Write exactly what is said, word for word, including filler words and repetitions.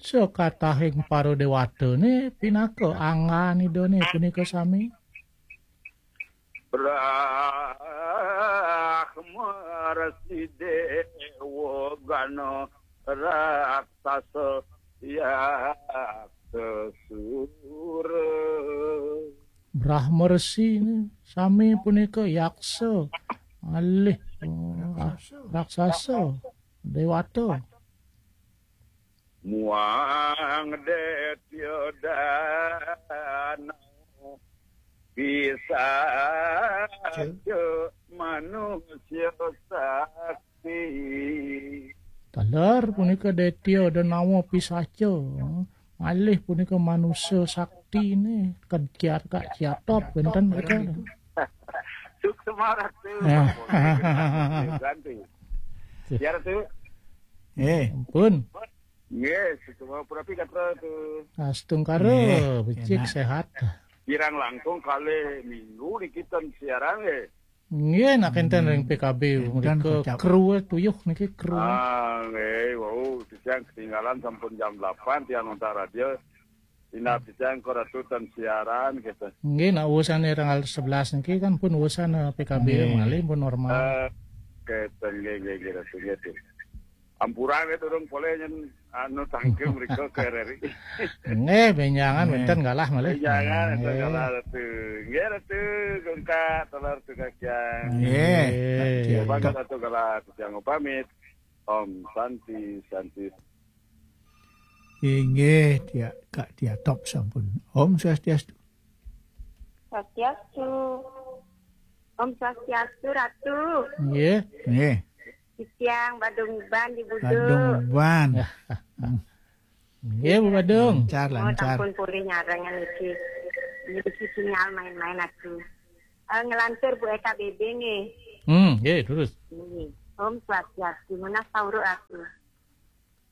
Sakatahing para déwatané pinaka anggan Idané punika sami. Brahma Resi Déwa Gana Raksasa Yaksa Sura. Brahma Resi sami punika yaksa, malih, oh, raksasa, déwata. Muang Détya Dana Pisaca Manusia Sakti. Taler punika Détya Danawa Pisaca, malih punika manusa sakti né, ked kiat kak kiatop wénten mereka. Suksma Ratu. Ya. Ganti. Ya, Ratu. Eh. Ampun. Nggih, suksma punapi gatra Ratu. Astungkara, nggih, becik, enak, séhat. Kirang langkung kalih minggu niki ten siaran nggih. Nggih, nak énten ring P K B énten mrika kocap. Kru tuyuh niki kru. Ah, nggih, wau, titiang ketinggalan sampun jam delapan tiang nonton radio. Inap titiang kok Ratu ten siaran gitu. Nggih, nak wusané tanggal sebelas niki kan pun wusan, eh, P K B nggih. Malih pun normal. Eh, keten nggih, nggih, nggih, Ratu, nggih, Ratu. Ampura nggih, durung polih nyen anu tangkil mrika ke R R I. Nggih, bénjangan wénten galah malih. Bénjangan wénten galah Ratu. Nggih, Ratu, gungkak telur tu kakiang. Nggih. Nggih. Bang Ratu galah titiang pamit. Om Santi, Santi. Inggih, Tia, Kak Tia Top sampun. Om Swastiastu. Swastiastu. Om Swastiastu, Ratu. Nggih. Nggih. Titiang Badung Uban di Budu. Badung Uban. Nggih, Bu Badung. Lancar, oh, lancar. Sampun polih nyarengin niki. Niki sinyal main-main aku. Eh, ngelantur Bu E K B B nggih. Hmm, nggih, terus. Nggih. Om Swastiastu, menawi sauruk aku.